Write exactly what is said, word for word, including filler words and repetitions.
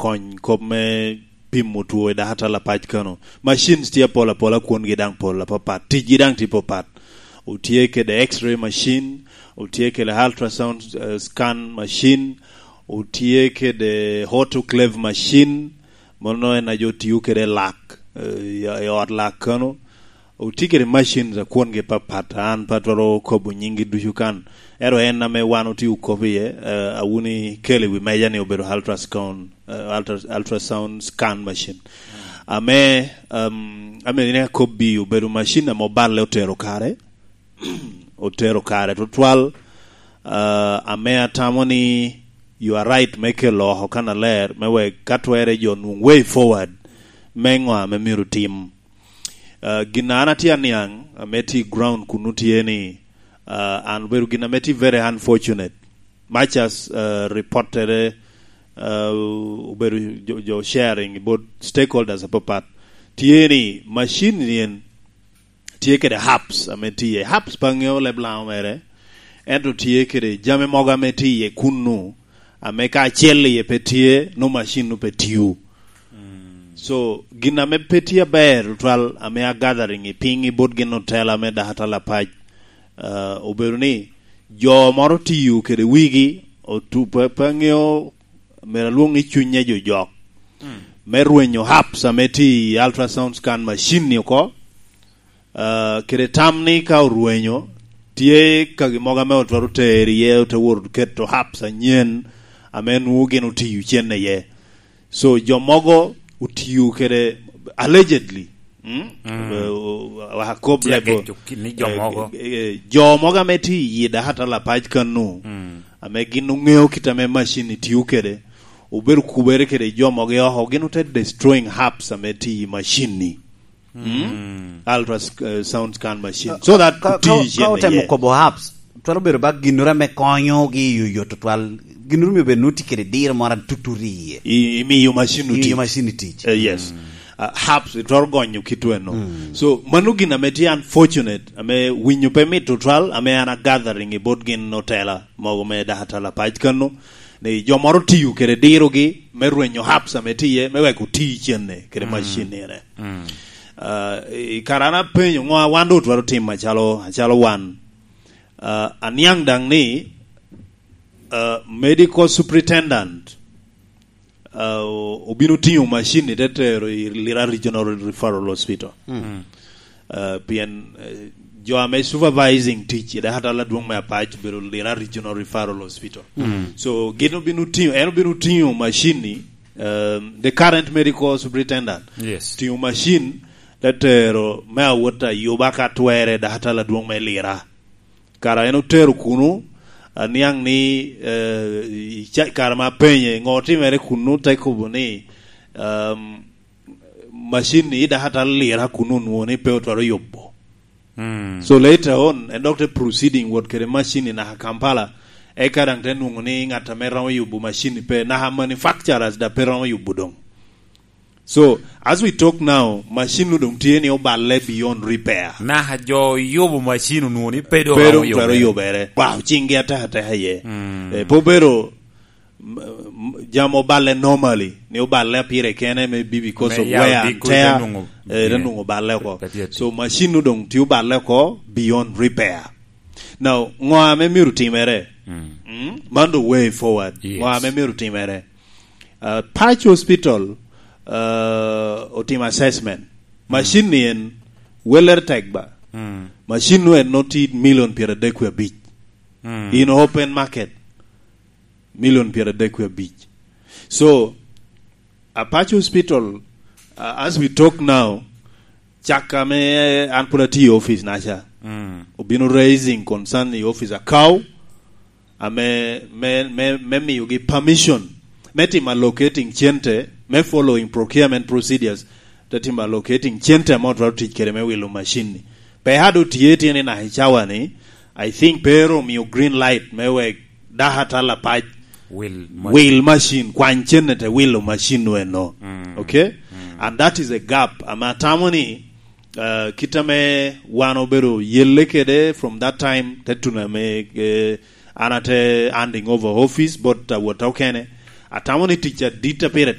kony kop me pimo two i dakatal apac kano. Machines tye apol apola, kwongi daŋ pol apapat, ticgi daŋ tye papat. Otye kede X-ray machine, otye kede ultrasound, eh, scan machine, otye kede autoclave machine, mano en a jo tiyo kede lak, eh, i, i ot lak kano. Otye kede machines a kwongi papat, an pe atwero kobo nyinggi ducu kan. Ero en ame wan otye okobo iye, eh, awuni kelo i wi meja ni obedo ultrasound, eh, ultra-, ultrasound scan machine. Ame, um, ame ni akobbi obedo machine ame oballe otero kare, otero kare tutwal, uh, ame atamo ni you are right me kelo oko kannaler, me wek ka twere jo nwoŋ way forward, me ŋo ame myero tim. Uh, gin an atye aniaŋ, ame tye i ground kunu tye ni, uh, an obedo gin ame tye very unfortunate. Much as, uh, reportere, uh, obedo jo, jo sharing, both stakeholders apapat, tye ni machine ni en tye kede hubs ame tye iye. Hubs pe aŋeo leb Laŋo mere, ento tye kede jami mogo ame tye iye kunnu, ame ka acel iye pe tye, no machine no pe tiyo. So, gin ame pe tye aber tutwal ame a gathering i piny i bot gin otela me dakatal apac, uh, obedo ni jo moro tiyo kede wigi, otu-, pe, pe aŋeo, myero alwoŋ ni cunye jo jok, me rwenyo hubs ame tye i ultrasound scan machine ni oko, uh, kede tam ni ka orwenyo, tye kagi mogo ame otwero tero iye, ote wot keto hubs anyen ame nwoŋo gin otiyo cen iye. So, jo mogo otiyo kede, allegedly, mm? Mm. Eh, o-, o-, akob Tye lebo, ageco ki-, ni jo eh, mogo. Eh, eh, jo mogo ame tye i dakatal apac kanu, mm, ame gin oŋeo kit ame machine ni tiyo kede, obedo kubere kede jo mogo i oko, gin ote destroying hubs ame tye i machine ni. Mm? Mm. Ultra, eh, sound scan machine. Ka, so that ka, ka, ka otemo kobo hubs, twero bedo ba ginnoro ame konyogi i yo yot tutwal. Ginnoro myero bed nwoŋo tye kede diro moro atututi iye. I, imiyo machine oti. Imiyo machine tic. Eh, yes. Mm. Ah, hubs, twero gonyo kit weno. Mm. So, mano gin ame tye unfortunate, ame winyo pe mit tutwal, ame an a gathering i bot gin otela mogo me dakatal apac kano, ni jo moro tiyo kede dirogi me rwenyo hubs ame tye iye, me wek oti cenne kede, mm, machine-nire. Mm. Ah, i kare an apenyo, ŋo a wan doŋ otwero timo acalo, acalo wan? Ah, aniaŋ daŋ ni, ah, medical superintendent, ah, o-, obino tiŋo machine-ni te tero i Lira Regional Referral Hospital. Mm. Uh, pien, uh, jo ame supervising tic i dakatal adwoŋ me apac obedo Lira Regional Referral Hospital. Mm. So, gin obino tiŋo, en obino tiŋo machine-ni, um, the current medical superintendent. Yes. Tiŋo machine, te tero me awot ayuba ka twere dakatal adwoŋ me Lira. Kara en otero kunu, aniaŋ ni, eh, i ca-, kare ma apenye, ŋo otimere kunu, te kobo ni, um, machine ni i dakatal Lira kunu onwoŋo ni pe otwero yubo. Mm. So later on, en dok te proceeding wot kede machine ni naka Kampala, eka daŋ te nwoŋo ni ŋat ame romo yubo machine ni pe, naka manufacturers da pe romo yubo doŋ. So, as we talk now, machine nu doŋ tye ni oballe beyond repair. Naka jo yubo machine onwoŋo ni pe doŋ romo yubere. Pe doŋ twero yubere. Wow, ciŋgi atek ateka iye. Mm. Eh, pe obedo m-, m-, jam oballe normally, ni oballe pire kene, maybe because of wear and tear, eh, te nwoŋo balle oko. So, machine nu doŋ tye oballe oko beyond repair. Now, ŋo ame myero timere? Mm. Mm? Man the way forward. Yes. Ŋo ame myero timere? Uh, Paco Hospital, uh, otimo assessment. Mm. Machine ni en, welere tek ba. Mm. Machine nu en noti million pyeradek wie abic. Mm. In open market. Million pyeradek wie abic. So, Apac Hospital, uh, as we talk now, cak ame an pwod atye i office na ca, mm, obino raising concern i office akaw, ame, me, me, me miyogi permission me timo allocating cente, me following procurement procedures, te timo allocating cente ame otwero tic kede me wilo machine ni. Pe ado tye, tye ni naka i cawa ni, I think pe ero omio green light me wek dakatal apac wil machine, kwany cene te wilo machine nu eno. Mm. Okay? Mm. And that is a gap. Ame atamo ni, uh, kit ame wan obedo yelle kede from that time, te tuno ame, eh, an ate handing over office bot awot okene. Atamo ni tic adit a pire